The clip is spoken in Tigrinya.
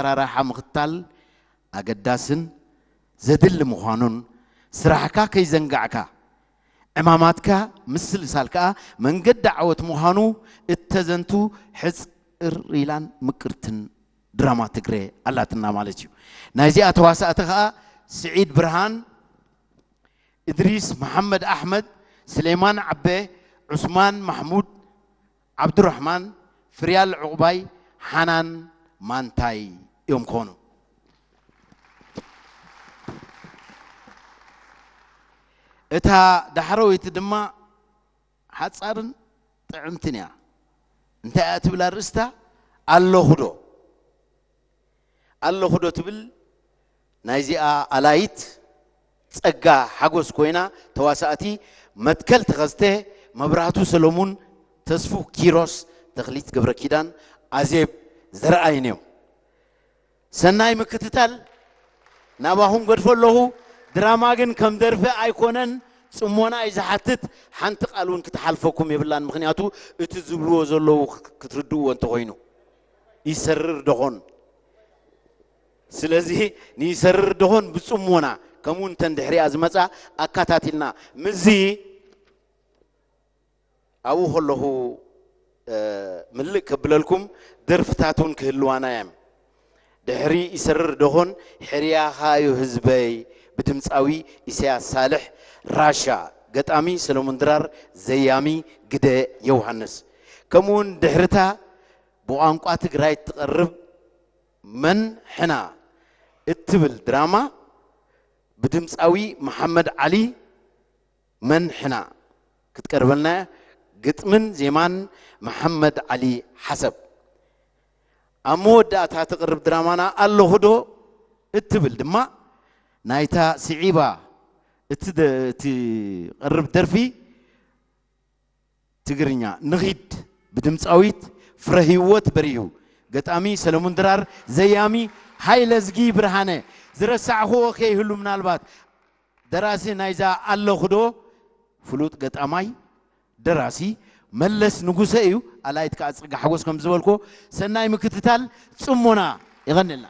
ኣሰራርሓ ምኽታል ኣገዳስን ዘድሊ ምዃኑን፣ ስራሕካ ከይዘንጋዕካ፣ ዕማማትካ ምስልሳል ከኣ መንገዲ ዓወት ምዃኑ እተዘንቱ ሕጽር ኢላን ምቅርትን ድራማ ትግረ ኣላትና ማለት እዩ። ናይዚኣ ተዋሳእቲ ከኣ ስዒድ ብርሃን፣ እድሪስ መሓመድ ኣሕመድ፣ ስሌማን ዓበ፣ ዑስማን ማሕሙድ፣ ዓብዱራሕማን፣ ፍርያል ዑቕባይ፣ ሓናን ማንታይ እዮም ክኾኑ። እታ ዳሕረወይቲ ድማ ሓጻርን ጥዕምትን እያ። እንታይ እያ ትብል ኣርእስታ? ኣለኹ ዶ? ኣለኹ ዶ ትብል ናይዚኣ ኣላይት ጸጋ ሓጎስ ኮይና፣ ተዋሳእቲ መትከል ተኸስተ፣ መብራህቱ ሰሎሙን፣ ተስፉ ኪሮስ፣ ተኽሊት ገብረ ኪዳን፣ ኣዜብ ዘርኣይን እዮም። ሰናይ ምክትታል ናባኹም ገድፎ ኣለኹ። ድራማ ግን ከም ደርፊ ኣይኮነን፣ ጽሞና እዩ ዝሓትት። ሓንቲ ቃል እውን ክትሓልፈኩም የብላን፣ ምኽንያቱ እቲ ዝብልዎ ዘለዉ ክትርድእዎ እንተኾይኑ ይሰርር ደኾን። ስለዚ ንይሰርር ደኾን ብጽሞና፣ ከምኡ እንተን ድሕሪኣ ዝመጻ ኣካታቲልና ምዚ ኣብኡ ከለኹ፣ እ፣ ምልእ ከብለልኩም፣ ደርፍታት እውን ክህልዋና እዮም። ድሕሪ ይሰርር ደኾን፣ ሕርያኻዮ ህዝበይ፣ ብድምጻዊ ኢሳያስ ሳልሕ፣ ራሻ፣ ገጣሚ ሰለሙን ድራር፣ ዘያሚ ግደ ዮሃንስ። ከምኡውን ድሕርታ ብቋንቋ ትግራይ እትቐርብ መን ሕና እትብል ድራማ ብድምጻዊ መሓመድ ዓሊ መን ሕና ክትቀርበልና እያ። ግጥምን ዜማን መሓመድ ዓሊ ሓሰብ። ኣብ መወዳእታ ትቕርብ ድራማና ኣለኹ ዶ እትብል ድማ ናይታ ስዒባ እቲ ደ-፣ እቲ ቀርብ ደርፊ ትግርኛ ንኺድ ብድምጻዊት ፍረህይወት በሪሁ፣ ገጣሚ ሰለሙን ድራር፣ ዘያሚ ሃይለዝጊ ብርሃነ። ዝረሳዕኽዎ ከይህሉ ምናልባት ደራሲ ናይዛ ኣለኹ ዶ ፍሉጥ ገጣማይ ደራሲ መለስ ንጉሰ እዩ። ኣላይት ከዓ ጽጋ ሓጎስ ከም ዝበልኮ ሰናይ ምክትታል ጽሞና ይቐንልና።